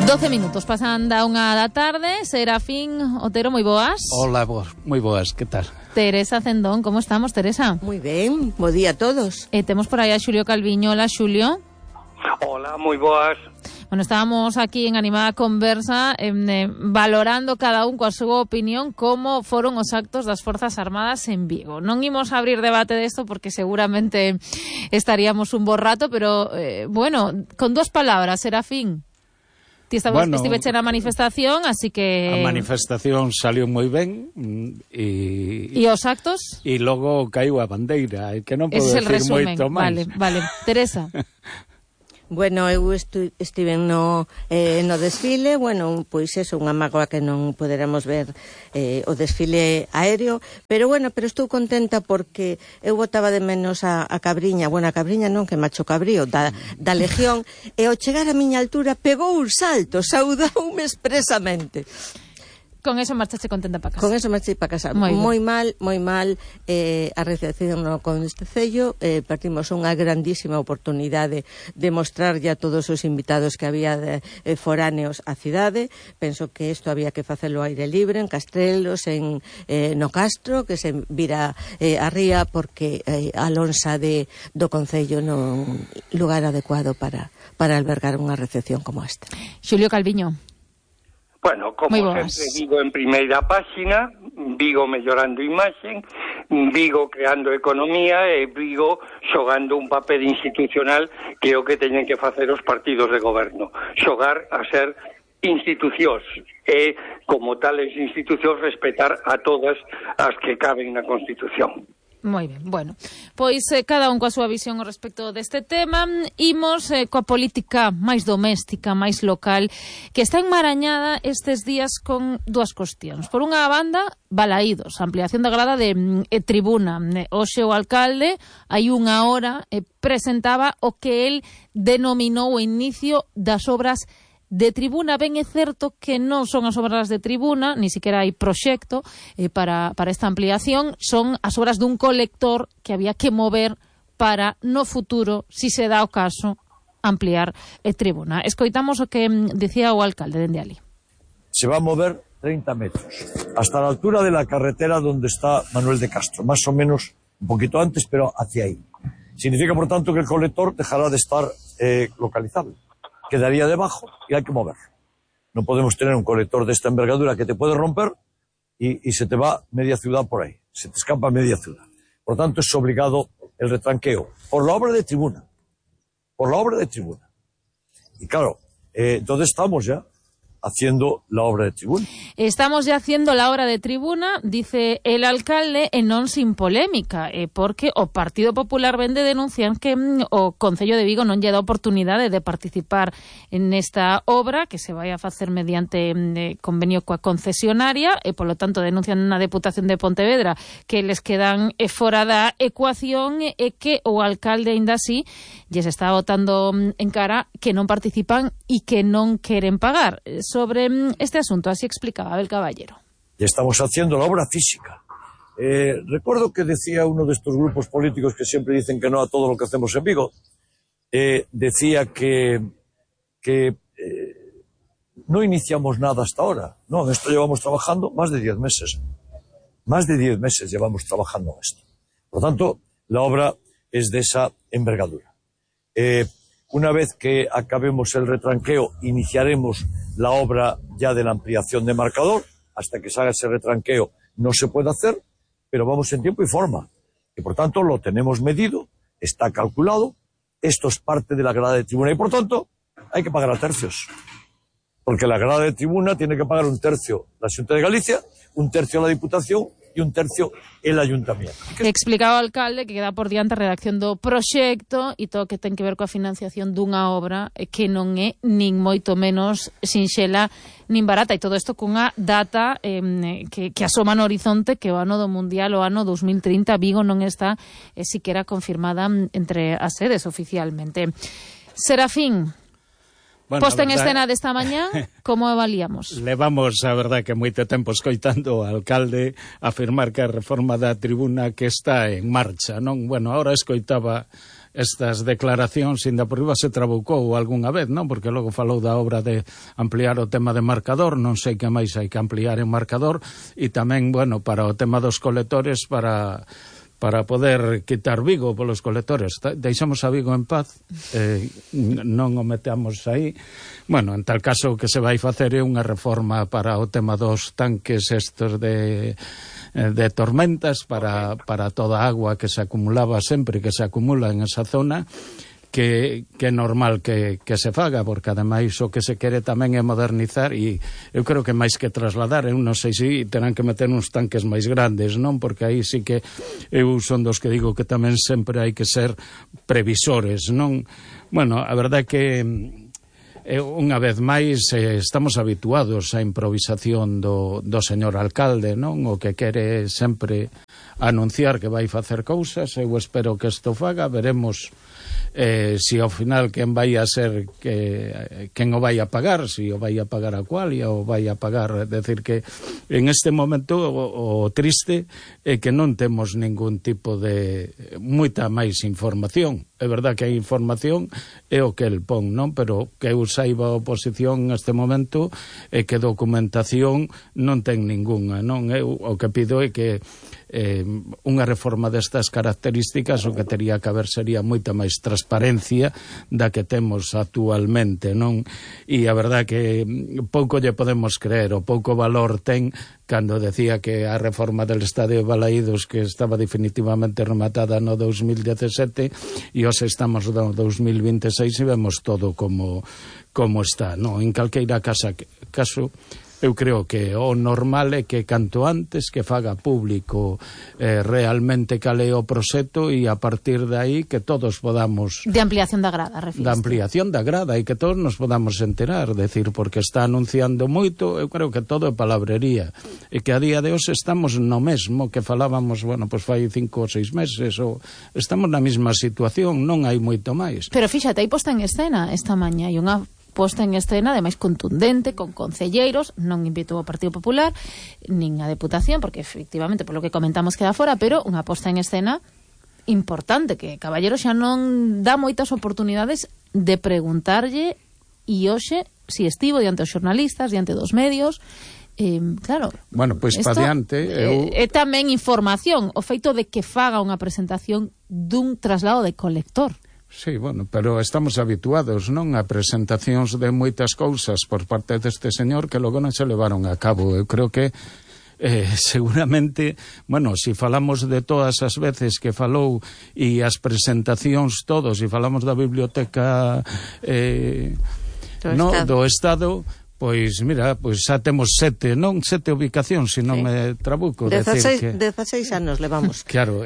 12 minutos pasan da unha da tarde. Serafín Otero, moi boas. Hola, moi boas, que tal? Teresa Cendón, como estamos, Teresa? Moi ben, bo día a todos. Temos por aí a Xulio Calviño. Hola, Xulio. Hola, moi boas. Bueno, estábamos aquí en animada conversa valorando cada un coa súa opinión como foron os actos das Forzas Armadas en Vigo. Non imos a abrir debate desto porque seguramente estaríamos un bo rato, pero, bueno, con dúas palabras, Serafín. Ti estiveche na manifestación, así que... A manifestación salió moi ben e os actos? E logo caiu a bandeira, que non podo decir moito máis. Vale. Teresa. Bueno, eu estive no desfile, bueno, pois eso, unha mágoa que non poderamos ver o desfile aéreo, pero estou contenta porque eu botaba de menos a Cabriña, bueno, a Cabriña non, que macho cabrío, da Legión, e ao chegar a miña altura pegou un salto, saudoume expresamente. Con eso marchaste contenta para casa. Con eso marchei para casa. Moi mal a recepción no Concello. Partimos unha grandísima oportunidade de mostrarlle a todos os invitados que había foráneos á cidade. Penso que isto había que facelo ao aire libre, en Castrelos, no Castro, que se vira a ría, porque a lonxa do Concello non lugar adecuado para albergar unha recepción como esta. Xulio Calviño. Bueno, como sempre, Vigo en primeira páxina, Vigo mellorando imaxen, Vigo creando economía e Vigo xogando un papel institucional que é o que teñen que facer os partidos de goberno. Xogar a ser institucións e, como tales institucións, respetar a todas as que caben na Constitución. Moi ben, bueno, pois cada un coa súa visión ao respecto deste tema. Imos coa política máis doméstica, máis local, que está enmarañada estes días con dúas cuestións. Por unha banda, Balaídos, ampliación da grada de tribuna. Hoxe o alcalde, hai unha hora, presentaba o que el denominou o inicio das obras de tribuna. Ben é certo que non son as obras de tribuna, ni siquiera hai proxecto para esta ampliación, son as obras dun colector que había que mover para, no futuro, si se dá o caso, ampliar tribuna. Escoitamos o que decía o alcalde dende ali. Se va a mover 30 metros, hasta la altura de la carretera donde está Manuel de Castro, más o menos un poquito antes, pero hacia ahí. Significa, por tanto, que el colector dejará de estar localizable. Quedaría debajo y hay que mover. No podemos tener un colector de esta envergadura que te puede romper y se te va media ciudad por ahí. Se te escapa media ciudad. Por tanto, es obligado el retranqueo. Por la obra de tribuna. Por la obra de tribuna. Y claro, entonces estamos ya haciendo la obra de tribuna. Estamos ya haciendo la obra de tribuna, dice el alcalde, e non sin polémica, porque o Partido Popular vende denuncian que o Concello de Vigo non lle dá oportunidade de participar en esta obra, que se vai a facer mediante convenio coa concesionaria, e polo tanto denuncian na Deputación de Pontevedra que les quedan fora da ecuación, e que o alcalde aínda así lles está botando en cara que non participan e que non queren pagar. Sobre este asunto, así explicaba Abel Caballero. Ya estamos haciendo la obra física. Recuerdo que decía uno de estos grupos políticos que siempre dicen que no a todo lo que hacemos en Vigo, decía que no iniciamos nada hasta ahora. No, en esto llevamos trabajando más de 10 meses. Más de 10 meses llevamos trabajando en esto. Por lo tanto, la obra es de esa envergadura. Una vez que acabemos el retranqueo, iniciaremos la obra ya de la ampliación de marcador. Hasta que se haga ese retranqueo no se puede hacer, pero vamos en tiempo y forma. Y por tanto lo tenemos medido, está calculado, esto es parte de la grada de tribuna y por tanto hay que pagar a tercios. Porque la grada de tribuna tiene que pagar un tercio la Xunta de Galicia, un tercio la Diputación e un tercio el Ayuntamiento. Explicaba o alcalde que queda por diante a redacción do proxecto e todo que ten que ver coa financiación dunha obra que non é nin moito menos sinxela nin barata, e todo isto cunha data que asoma no horizonte, que o ano do Mundial, o ano 2030, Vigo non está siquiera confirmada entre as sedes oficialmente. Serafín, bueno, posta en escena desta mañá, como avaliamos? Levamos, a verdad, que moito tempo escoitando ao alcalde afirmar que a reforma da tribuna que está en marcha, non? Bueno, ahora escoitaba estas declaracións ainda por riba se trabucou algunha vez, non? Porque logo falou da obra de ampliar o tema de marcador, non sei que máis hai que ampliar en marcador, e tamén, bueno, para o tema dos colectores, para poder quitar Vigo polos colectores. Deixamos a Vigo en paz, non o metamos aí. Bueno, en tal caso o que se vai facer é unha reforma para o tema dos tanques estos de tormentas para toda a agua que se acumulaba sempre, que se acumula en esa zona, que é normal que se faga, porque ademais o que se quere tamén é modernizar, e eu creo que máis que trasladar, eu non sei se terán que meter uns tanques máis grandes, non? Porque aí sí que eu son dos que digo que tamén sempre hai que ser previsores, non? Bueno, a verdade é que unha vez máis estamos habituados á improvisación do señor alcalde, non? O que quere sempre anunciar que vai facer cousas. Eu espero que isto faga, veremos si ao final quen vai a ser quen o vai a pagar, si o vai a pagar a Qualia ou vai a pagar. É decir, que en este momento o triste é que non temos ningún tipo de moita máis información. É verdad que a información é o que el pon, non? Pero que eu saiba a oposición neste momento é que documentación non ten ningunha, non? Eu o que pido é que unha reforma destas características o que teria que haber sería moita máis transparencia da que temos actualmente, non? E a verdad que pouco lle podemos creer, o pouco valor ten cando decía que a reforma del Estadio de Balaídos, que estaba definitivamente rematada no 2017, e hoxe estamos no 2026 e vemos todo como está, non? En calqueira caso, eu creo que o normal é que canto antes que faga público realmente cal é o proxecto, e a partir de aí que todos podamos... De ampliación da grada, refiriste. Da ampliación da grada, e que todos nos podamos enterar, decir, porque está anunciando moito, eu creo que todo é palabrería, e que a día de hoxe estamos no mesmo que falábamos, bueno, pois fai 5 ou 6 meses, ou estamos na mesma situación, non hai moito máis. Pero fíxate, hai posta en escena esta mañá, e unha posta en escena, ademais contundente, con concelleiros, non invitou ao Partido Popular, nin a Deputación, porque efectivamente, por lo que comentamos, queda fora, pero unha posta en escena importante, que Caballero xa non dá moitas oportunidades de preguntarlle, e hoxe, si estivo diante os xornalistas, diante dos medios, claro, bueno, pois pa diante é tamén información, o feito de que faga unha presentación dun traslado de colector. Sí, bueno, pero estamos habituados, non, a presentacións de moitas cousas por parte deste señor que logo non se levaron a cabo. Eu creo que seguramente, bueno, si falamos de todas as veces que falou e as presentacións todos, e falamos da biblioteca do Estado, pois, mira, pois xa temos 7 ubicacións, se non me trabuco. 16 anos levamos. Claro,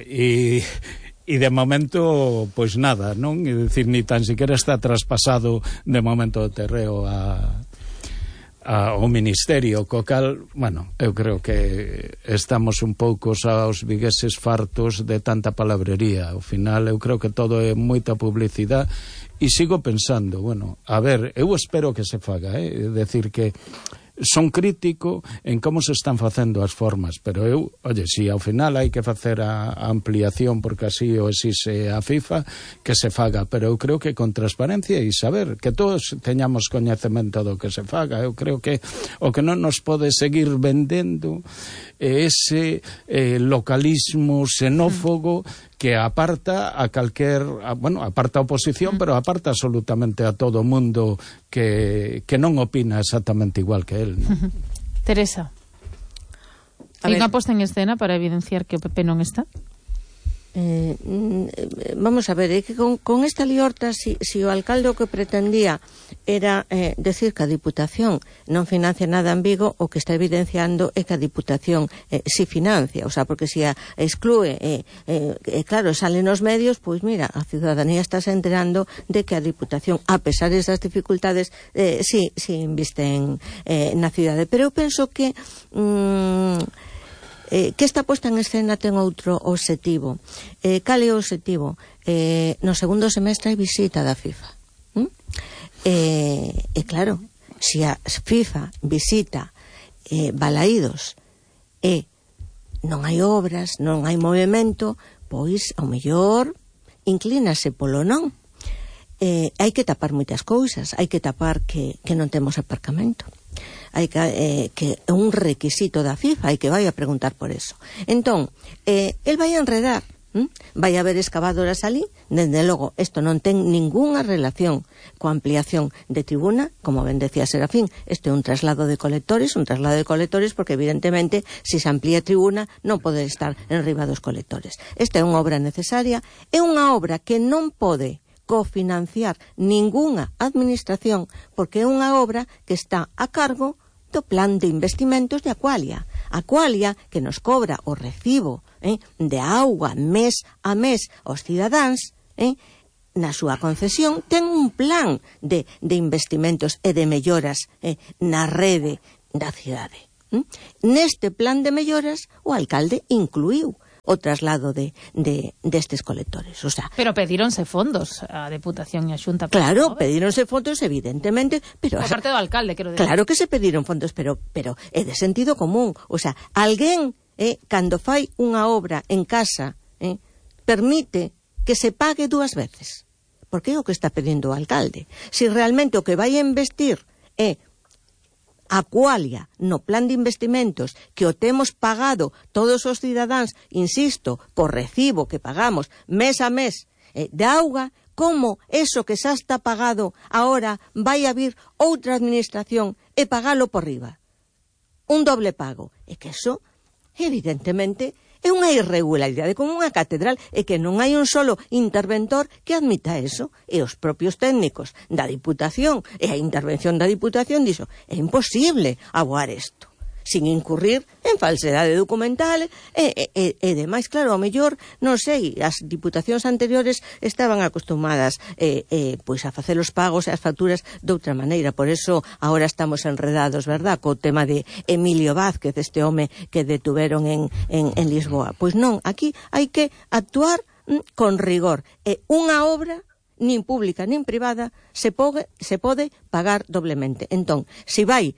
e de momento, pois nada, non? É dicir, ni tan siquiera está traspasado de momento o terreo ao Ministerio, co cal, bueno, eu creo que estamos un pouco aos vigueses fartos de tanta palabrería. Ao final, eu creo que todo é moita publicidade, e sigo pensando, bueno, a ver, eu espero que se faga, é decir, que son crítico en como se están facendo as formas, pero eu, oye, si ao final hai que facer a ampliación porque así o exige a FIFA, que se faga, pero eu creo que con transparencia e saber que todos teñamos coñecemento do que se faga. Eu creo que o que non nos pode seguir vendendo é ese localismo xenófobo que aparta a calquer, bueno, aparta a oposición, pero aparta absolutamente a todo o mundo que non opina exactamente igual que él, ¿no? Teresa, hai unha posta en escena para evidenciar que o PP non está? Vamos a ver, é que con esta liorta, si o alcalde o que pretendía era decir que a Diputación non financia nada en Vigo, o que está evidenciando é que a Diputación si financia, o sea, porque si a exclúe, claro, salen nos medios, pois mira, a ciudadanía está se enterando de que a Diputación, a pesar desas dificultades, si inviste na cidade. Pero eu penso que esta posta en escena ten outro obxectivo. Cal é o obxectivo? No segundo semestre hai visita da FIFA. E claro, se a FIFA visita Balaídos e non hai obras, non hai movimento, pois ao mellor inclínase polo non. Hai que tapar moitas cousas, hai que tapar que non temos aparcamento, hai que é un requisito da FIFA, hai que vai a preguntar por eso. Entón, el vai a enredar, vai haber excavadoras ali. Dende logo, isto non ten ningunha relación coa ampliación de tribuna, como ben decía Serafín, isto é un traslado de colectores, porque evidentemente, se se amplía tribuna, non pode estar en riba dos colectores. Esta é unha obra necesaria, é unha obra que non pode cofinanciar ningunha administración, porque é unha obra que está a cargo do plan de investimentos de Aqualia. Aqualia, que nos cobra o recibo de auga mes a mes aos cidadáns, na súa concesión ten un plan de investimentos e de melloras na rede da cidade. Neste plan de melloras o alcalde incluiu o traslado destes colectores. O sea, pero pedíronse fondos a Deputación e a Xunta. Claro, pedíronse fondos, evidentemente, pero por parte do alcalde, quero decir. Claro que se pediron fondos, pero é de sentido común. O sea, alguén cando fai unha obra en casa permite que se pague dúas veces. Porque é o que está pedindo o alcalde. Se realmente o que vai a investir é Aqualia no plan de investimentos que o temos pagado todos os cidadáns, insisto, por recibo que pagamos mes a mes de auga, como eso que xa está pagado agora vai a vir outra administración e pagalo por riba. Un doble pago. E que eso, evidentemente, é unha irregularidade como unha catedral, e que non hai un solo interventor que admita eso, e os propios técnicos da Diputación e a intervención da Diputación dixo, é imposible aboar isto sin incurrir en falsedade documental e demais. Claro, ao mellor, non sei, as diputacións anteriores estaban acostumadas pois a facer os pagos e as facturas de outra maneira, por eso agora estamos enredados, verdad, co tema de Emilio Vázquez, este home que detuveron en Lisboa. Pois non, aquí hai que actuar con rigor. Unha obra nin pública nin privada se pode pagar doblemente. Entón, se vai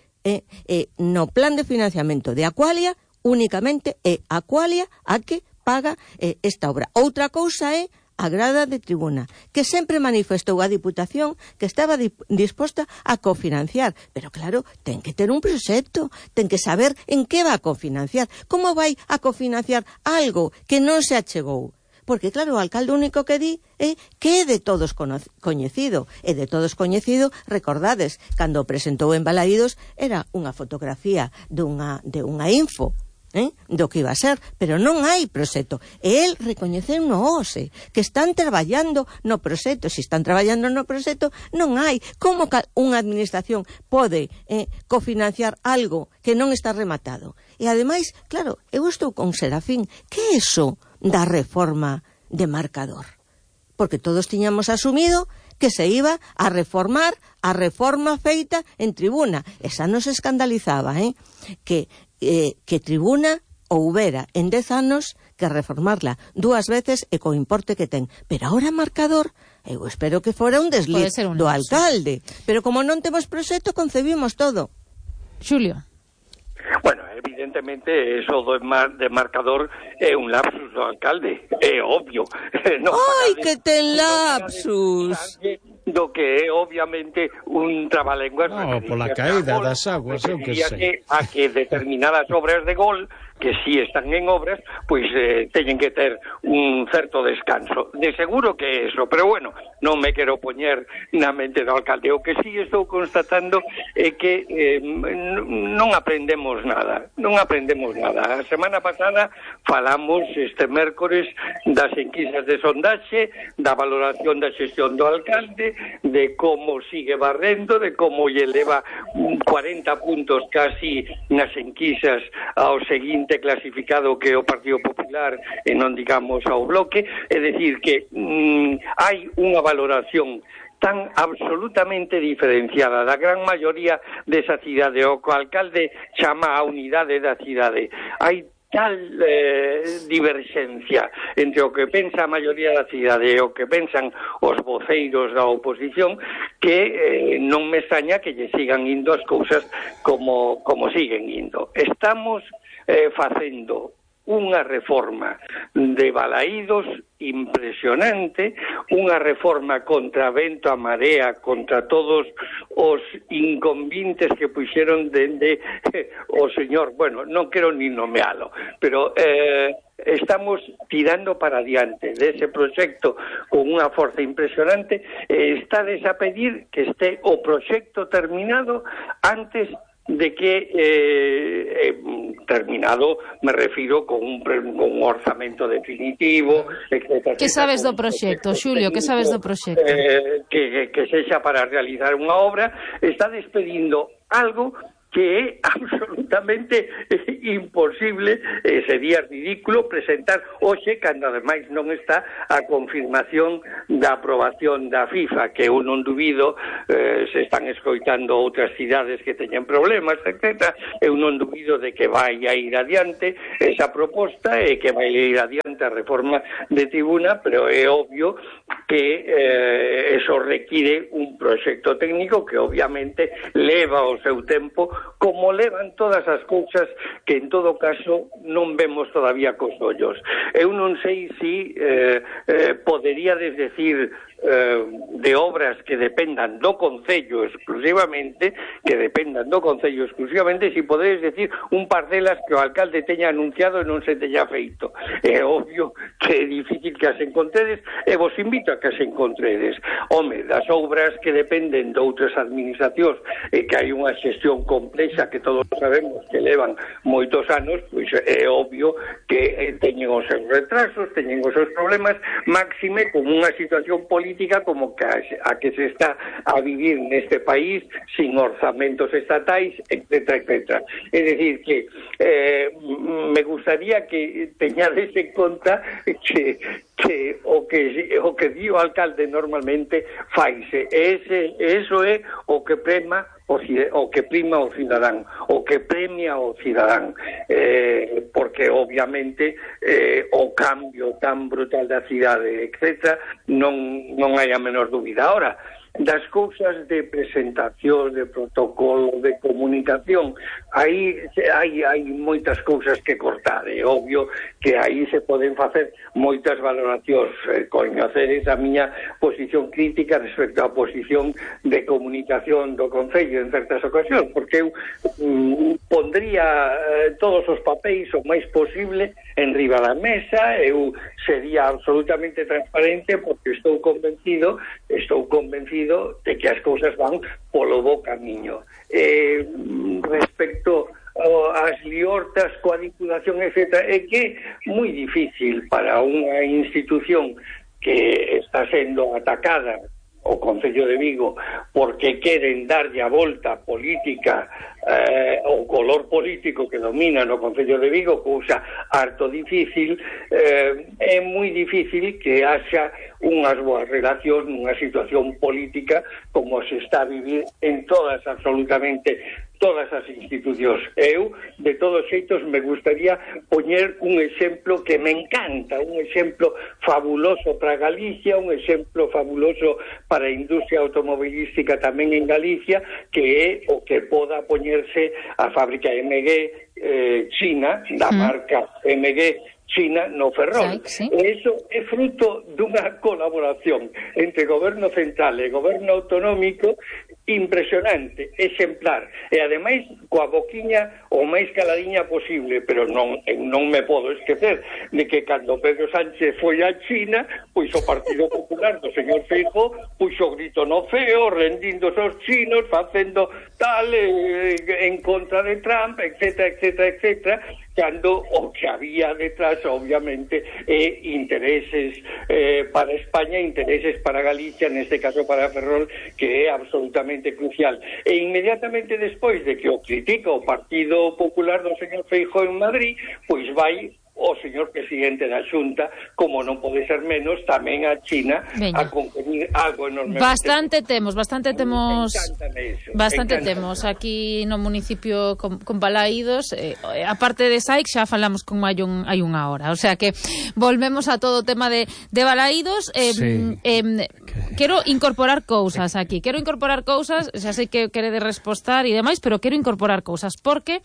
no plan de financiamento de Aqualia, únicamente é Aqualia a que paga esta obra. Outra cousa é a grada de tribuna, que sempre manifestou a Diputación que estaba disposta a cofinanciar, pero claro, ten que ter un proxecto, ten que saber en que va a cofinanciar. Como vai a cofinanciar algo que non se achegou? Porque, claro, o alcalde único que di é que é de todos coñecido. E de todos coñecido, recordades, cando presentou en Balaídos, era unha fotografía de unha info do que iba a ser, pero non hai proxecto. E el recoñeceu no OSE que están traballando no proxecto. Se están traballando no proxecto, non hai. Como unha administración pode cofinanciar algo que non está rematado? E ademais, claro, eu estou con Serafín, que é iso da reforma de marcador? Porque todos tiñamos asumido que se iba a reformar a reforma feita en tribuna. Esa nos escandalizaba, que tribuna houbera en 10 anos que reformarla dúas veces e co importe que ten. Pero ahora marcador, eu espero que fora un desliz do alcalde. Pero como non temos proxecto, concebimos todo. Xulio. Bueno, evidentemente, eso de marcador é un lapsus do alcalde, é obvio. Ai, que ten lapsus! Do que é, obviamente, un trabalenguas. No, pola caída das aguas, eu que sei. A que determinadas obras de gol, que si están en obras, pois teñen que ter un certo descanso. De seguro que é eso, pero bueno, non me quero poñer na mente do alcalde. O que si estou constatando é que non aprendemos nada. A semana pasada falamos este mércores das enquisas de sondaxe, da valoración da xestión do alcalde, de como sigue barrendo, de como lle leva 40 puntos casi nas enquisas ao seguinte clasificado que é o Partido Popular e non digamos ao Bloque. É dicir que hai unha valoración tan absolutamente diferenciada da gran maioría desa cidade, o que o alcalde chama a unidade da cidade. Hai tal diverxencia entre o que pensa a maioría da cidade e o que pensan os voceiros da oposición que non me extraña que lle sigan indo as cousas como siguen indo. Estamos facendo unha reforma de Balaídos impresionante, unha reforma contra vento a marea, contra todos os inconvintes que puxeron dende o señor, bueno, non quero ni nomealo, pero estamos tirando para adiante dese proxecto con unha forza impresionante. Estades a pedir que este o proxecto terminado antes de que terminado, me refiro con un orzamento definitivo, etc. Que sabes do proxecto, Xulio? Que sabes do proxecto? Que sexa para realizar unha obra. Está despedindo algo que é absolutamente imposible, sería ridículo presentar hoxe, cando ademais non está a confirmación da aprobación da FIFA, que eu non dubido, se están escoitando outras cidades que teñen problemas, etc. Eu non dubido de que vai a ir adiante esa proposta e que vai a ir adiante a reforma de tribuna, pero é obvio que eso require un proxecto técnico que obviamente leva o seu tempo, como levan todas as cousas que en todo caso non vemos todavía cos ollos. Eu non sei se poderíades decir de obras que dependan do Concello exclusivamente, si podedes decir un par delas que o alcalde teña anunciado e non se teña feito. É obvio que é difícil que as encontredes, e vos invito a que as encontredes. Home, das obras que dependen de outras administracións e que hai unha xestión complexa que todos sabemos que levan moitos anos, pois é obvio que teñen os seus retrasos, teñen os seus problemas, máxime como unha situación política como que a que se está a vivir neste país sin orzamentos estatais, etc., etc. É dicir que me gustaría que teñades en conta que o que di o alcalde normalmente faise. Eso é o que prima o cidadán, o que premia o cidadán, porque obviamente o cambio tan brutal da cidade, etc., non hai a menor dúbida. Ahora, das cousas de presentación, de protocolo, de comunicación, aí hai moitas cousas que cortar. É obvio que aí se poden facer moitas valoracións. Coñeceres a miña posición crítica respecto á posición de comunicación do Concello en certas ocasións, porque eu pondría todos os papéis o máis posible en riba da mesa, eu sería absolutamente transparente, porque estou convencido de que as cousas van polo bo camiño. Respecto ás liortas coa Diputación, etc., é que é moi difícil para unha institución que está sendo atacada, o Concello de Vigo, porque queren darlle a volta política, o color político que domina no Concello de Vigo, cousa harto difícil. É moi difícil que haxa unhas boas relacións nunha situación política como se está a vivir en absolutamente todas as institucións. Eu, de todos xeitos, me gustaría poñer un exemplo que me encanta, un exemplo fabuloso para Galicia, un exemplo fabuloso para a industria automobilística tamén en Galicia, que é o que poda poñerse a fábrica MG China, da marca MG China no Ferrol. Sí. Eso é fruto dunha colaboración entre goberno central e goberno autonómico impresionante, exemplar, e ademais coa boquiña o máis caladiña posible, pero non me podo esquecer de que cando Pedro Sánchez foi a China, pois o Partido Popular do señor Feijóo puxo grito no ceo, rendíndose aos chinos, facendo tal en contra de Trump, etc., etc., etc., cando o que había detrás, obviamente, intereses para España, intereses para Galicia, neste caso para Ferrol, que é absolutamente crucial. E inmediatamente despois de que o critica o Partido Popular do señor Feijóo en Madrid, pois vai o señor presidente da Xunta, como non pode ser menos, tamén a China. Veña. A convenir algo enormemente. Bastante temos aquí no municipio con Balaídos, a parte de Saic xa falamos con hai unha hora, o sea que volvemos a todo o tema de Balaídos. Sí, quero incorporar cousas aquí. Quero incorporar cousas, xa sei que quere de respostar e demais, pero quero incorporar cousas porque,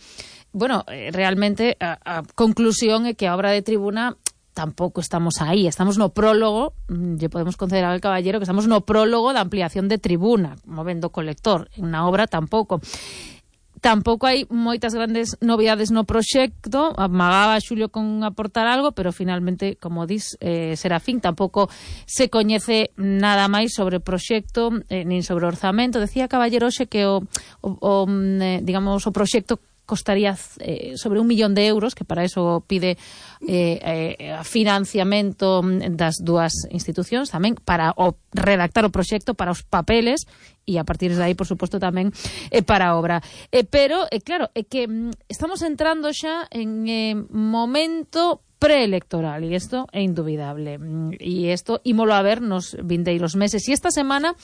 bueno, realmente a conclusión é que a obra de tribuna tampouco estamos aí, estamos no prólogo, lle podemos conceder ao Caballero que estamos no prólogo da ampliación de tribuna, movendo colector, en unha obra tampouco hai moitas grandes novidades no proxecto. Amagaba Xulio con aportar algo, pero finalmente, como dis, Serafín, tampouco se coñece nada máis sobre o proxecto, nin sobre o orzamento. Decía Caballero hoxe que digamos, o proxecto costaría sobre 1 millón de euros, que para eso pide financiamento das dúas institucións, tamén para redactar o proxecto, para os papeles, e a partir de aí, por suposto, tamén para a obra. Pero, claro, é que estamos entrando xa en momento preelectoral, e isto é indubidable, e isto ímolo a ver nos vindeiros meses, e esta semana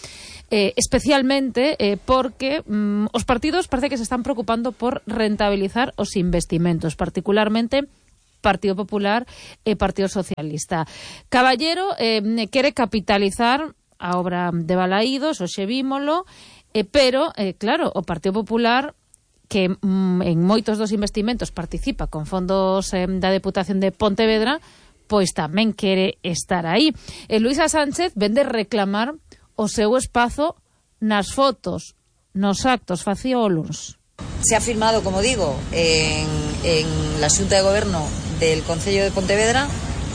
especialmente porque os partidos parece que se están preocupando por rentabilizar os investimentos, particularmente Partido Popular e Partido Socialista. Caballero quere capitalizar a obra de Balaídos, hoxe vímolo, pero, claro, o Partido Popular, que en moitos dos investimentos participa con fondos da Deputación de Pontevedra, pois tamén quere estar aí. Luisa Sánchez vende reclamar o seu espazo nas fotos, nos actos, facía o luns. Se ha firmado, como digo, en la Xunta de Gobierno del Concello de Pontevedra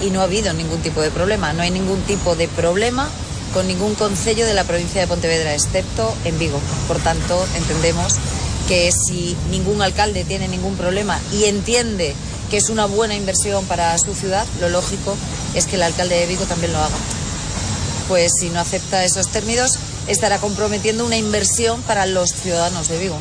y no ha habido ningún tipo de problema. No hay ningún tipo de problema con ningún concello de la provincia de Pontevedra, excepto en Vigo. Por tanto, entendemos que si ningún alcalde tiene ningún problema y entiende que es una buena inversión para su ciudad, lo lógico es que el alcalde de Vigo también lo haga. Pues si no acepta esos términos, estará comprometiendo una inversión para los ciudadanos de Vigo.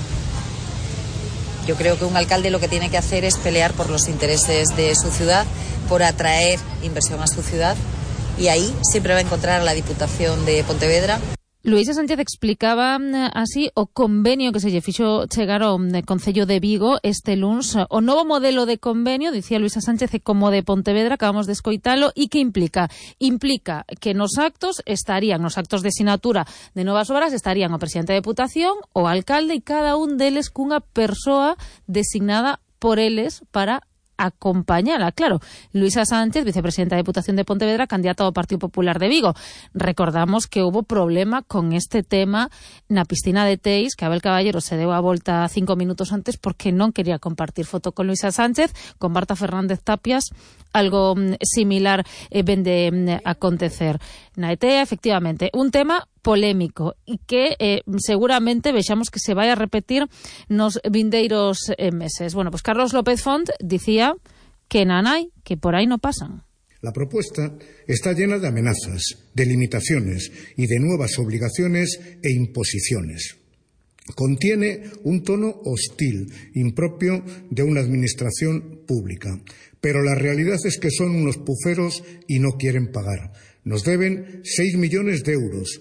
Yo creo que un alcalde lo que tiene que hacer es pelear por los intereses de su ciudad, por atraer inversión a su ciudad, y ahí siempre va a encontrar a la Diputación de Pontevedra. Luisa Sánchez explicaba así o convenio que se lle fixo chegar ao Concello de Vigo este luns. O novo modelo de convenio, dicía Luisa Sánchez, é como de Pontevedra, acabamos de escoitalo, e que implica? Implica que nos actos de sinatura de novas obras estarían o presidente da Deputación, o alcalde, e cada un deles cunha persoa designada por eles para acompañala. Claro, Luisa Sánchez, vicepresidenta da Deputación de Pontevedra, candidata ao Partido Popular de Vigo. Recordamos que hubo problema con este tema na piscina de Teis, que Abel Caballero se deu a volta 5 minutos antes porque non quería compartir foto con Luisa Sánchez. Con Marta Fernández Tapias algo similar vende acontecer na ETEA. Efectivamente, un tema polémico e que seguramente vexamos que se vai a repetir nos vindeiros meses. Bueno, pues Carlos López Font dicía que nanai, que por aí no pasan. La propuesta está llena de amenazas, de limitaciones y de nuevas obligaciones e imposiciones. Contiene un tono hostil, impropio de una administración pública. Pero la realidad es que son unos puceros y no quieren pagar. Nos deben 6 millones de euros.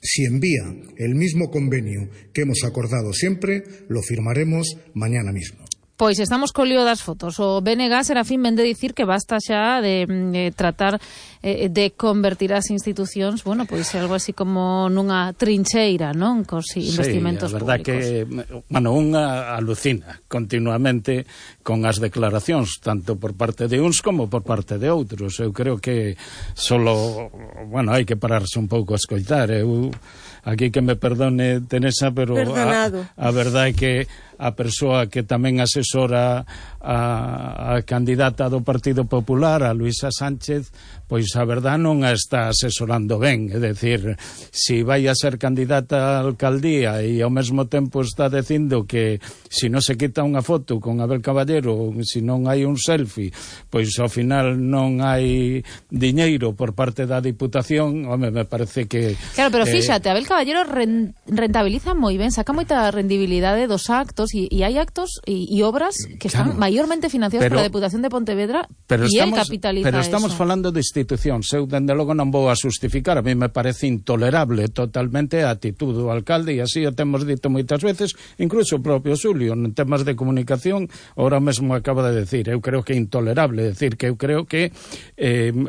Si envía el mismo convenio que hemos acordado siempre, lo firmaremos mañana mismo. Pois estamos co lío das fotos. O BNG, Serafín, vende dicir que basta xa de tratar de convertir as institucións, bueno, pois algo así como nunha trincheira, non? Cos investimentos públicos. Sí, a verdad que, bueno, unha alucina continuamente con as declaracións, tanto por parte de uns como por parte de outros. Eu creo que solo, bueno, hai que pararse un pouco a escoitar. Eu, aquí que me perdone Teresa, pero a verdade é que a persoa que tamén asesora a candidata do Partido Popular, a Luisa Sánchez, pois a verdade non a está asesorando ben. É dicir, si vai a ser candidata a alcaldía e ao mesmo tempo está dicindo que si non se quita unha foto con Abel Caballero, si non hai un selfie, pois ao final non hai diñeiro por parte da Diputación, home, me parece que... Claro, pero fíxate, Abel Caballero rentabiliza moi ben, saca moita rendibilidade dos actos e hai actos e obras que están maiormente financiadas pola Deputación de Pontevedra e el capitaliza. Pero estamos falando de institucións. Eu, dende logo, non vou a justificar. A mí me parece intolerable totalmente a actitud do alcalde, e así o temos dito moitas veces, incluso o propio Xulio, en temas de comunicación, ahora mesmo acaba de decir, eu creo que é intolerable, decir que eu creo que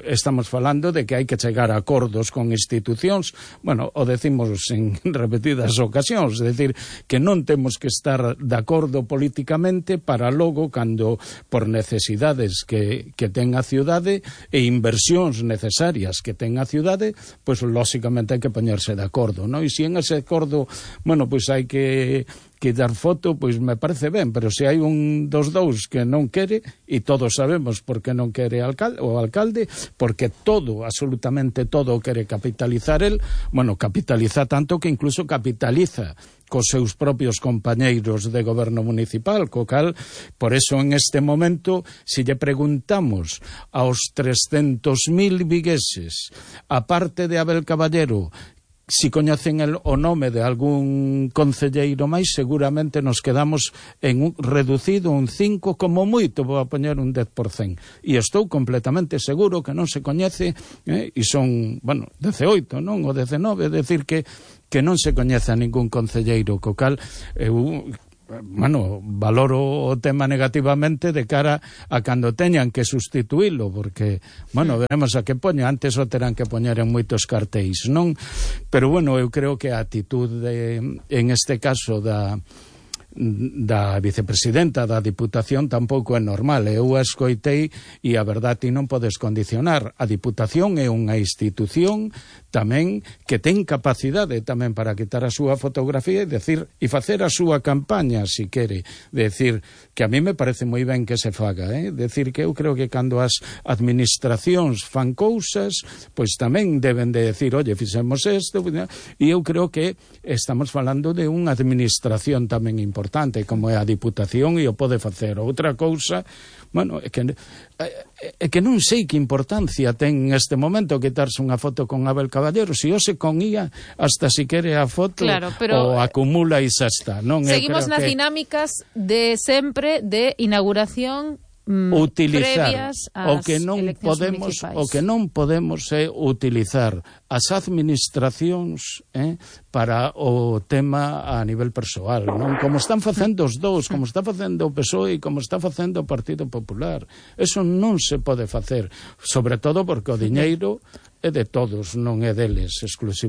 estamos falando de que hai que chegar a acordos con institucións, bueno, o decimos en repetidas ocasións, é dicir, que non temos que estar de acordo políticamente para logo, cando por necesidades que ten a ciudade e inversións necesarias que ten a ciudade, pois lóxicamente hai que poñerse de acordo, non? E se en ese acordo, bueno, pois hai que dar foto, pois me parece ben, pero se hai un dos dous que non quere, e todos sabemos por que non quere o alcalde, porque todo, absolutamente todo quere capitalizar el, bueno, capitaliza tanto que incluso capitaliza cos seus propios compañeiros de goberno municipal, co cal, por eso en este momento, se lle preguntamos aos 300.000 vigueses, aparte de Abel Caballero, si coñecen o nome de algún concelleiro máis, seguramente nos quedamos en un reducido un 5, como moito, vou a poñer un 10%. E estou completamente seguro que non se coñece, e son, bueno, 18, non? O 19, é dicir que non se coñece a ningún concelleiro, co cal eu, bueno, valoro o tema negativamente de cara a cando teñan que sustituílo, porque, bueno, veremos a que poño, antes o terán que poñer en moitos cartéis, non? Pero, bueno, eu creo que a actitude, en este caso, da vicepresidenta da Diputación tampouco é normal. Eu a escoitei e a verdade non podes condicionar. A Diputación é unha institución tamén que ten capacidade tamén para quitar a súa fotografía e facer a súa campaña, se quere. Decir que a mí me parece moi ben que se faga, decir que eu creo que cando as administracións fan cousas, pois tamén deben de decir, oye, fixemos isto, e eu creo que estamos falando de unha administración tamén importante, como é a Diputación, e o pode facer. Outra cousa, bueno, é que non sei que importancia ten neste momento quitarse unha foto con Abel Caballero. Se hoxe con IA, hasta si quere a foto, claro, pero o acumula e xa está, non? Seguimos nas dinámicas de sempre de inauguración utilizar o que non podemos é utilizar as administracións para o tema a nivel persoal, non? Como están facendo os dous, como está facendo o PSOE e como está facendo o Partido Popular. Eso non se pode facer, sobre todo porque o diñeiro é de todos, non é deles exclusivamente.